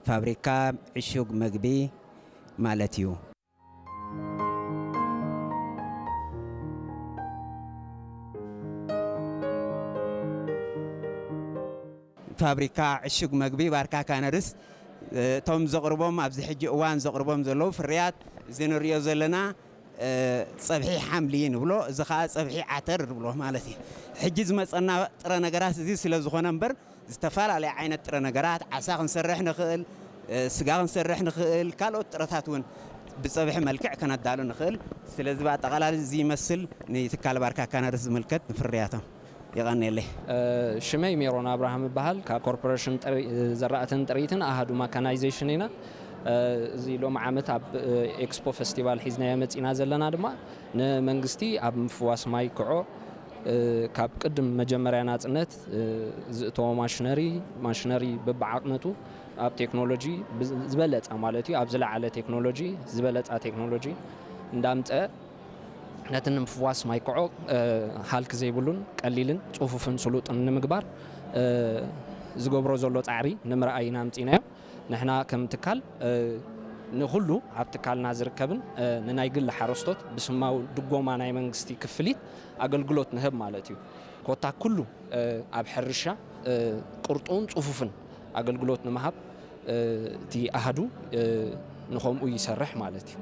ፋብሪካ ዕሹግ መግቢ ማለት እዩ። ፋብሪካ ዕሹግ መግቢ ባርካ ካነርስ፣ እቶም ዘቕርቦም፣ ኣብዚ ሕጂ እዋን ዘቕርቦም ዘለዉ ፍርያት፣ እዚ ንሪኦ ዘለና፣ እ፣ ጸብሒ ሓምሊ ንብሎ፣ እዚ ኸኣ ጸብሒ ዓተር ንብሎ ማለት እዩ። ሕጂ ዝመጸና ጥረ ነገራት እዚ ስለ ዝኾነ እምበር፣ ዝተፈላለየ ዓይነት ጥረ ነገራት፣ ዓሳ ክንሰርሕ ንኽእል፣ እ፣ ስጋ ክንሰርሕ ንኽእል፣ ካልኦት ጥረታት እውን ብጸብሒ መልክዕ ከነዳሉ ንኽእል። ስለዚ ብኣጠቓላሊ እዚ ይመስል ንትካል ባርካ ካነርስ ዝምልከት ንፍርያቶም። የቐንየለይ። እ፣ ሽመይ ሜሮን ኣብርሃም እበሃል። ካብ ኮርፖሬሽን ጥሪ-፣ ዘራእትን ጥሪትን ኣሃዱ ማካናይዜሽን ኢና። እ፣ እዚ ሎሚ ዓመት ኣብ፣ እ፣ ኤክስፖ ፈስቲቫል ሒዝናዮ መጺና ዘለና ድማ ንመንግስቲ ኣብ ምፍዋስ ማይ ክዖ፣ እ፣ ካብ ቅድም መጀመርያ ናጽነት፣ እ፣ ዝእተዎ ማሽነሪ፣ ማሽነሪ በብዓቕነቱ ኣብ ቴክኖሎጂ ብዝ-፣ ዝበለጸ ማለት እዩ፣ ኣብ ዝለዓለ ቴክኖሎጂ፣ ዝበለጻ ቴክኖሎጂ እንዳምጸ ነቲ ንምፍዋስ ማይ ክዖ፣ እ፣ ሃልኪ ዘይብሉን ቀሊልን ጽፉፍን ስሉጥን ንምግባር፣ እ፣ ዝገብሮ ዘሎ ጻዕሪ ንምርኣይ ኢና ኣምጺናዮ። ንሕና ከም ትካል፣ እ፣ ንኹሉ ኣብ ትካልና ዝርከብን፣ እ፣ ንናይ ግሊ ሓረስቶት ብስማዊ ድጎማ ናይ መንግስቲ ክፍሊት ኣገልግሎት ንህብ ማለት እዩ። ኮታ ኩሉ፣ እ፣ ኣብ ሕርሻ፣ እ፣ ቅርጡውን ጽፉፍን ኣገልግሎት ንምሃብ፣ እ፣ እቲ ኣሃዱ፣ እ፣ ንኸምኡ ይሰርሕ ማለት እዩ።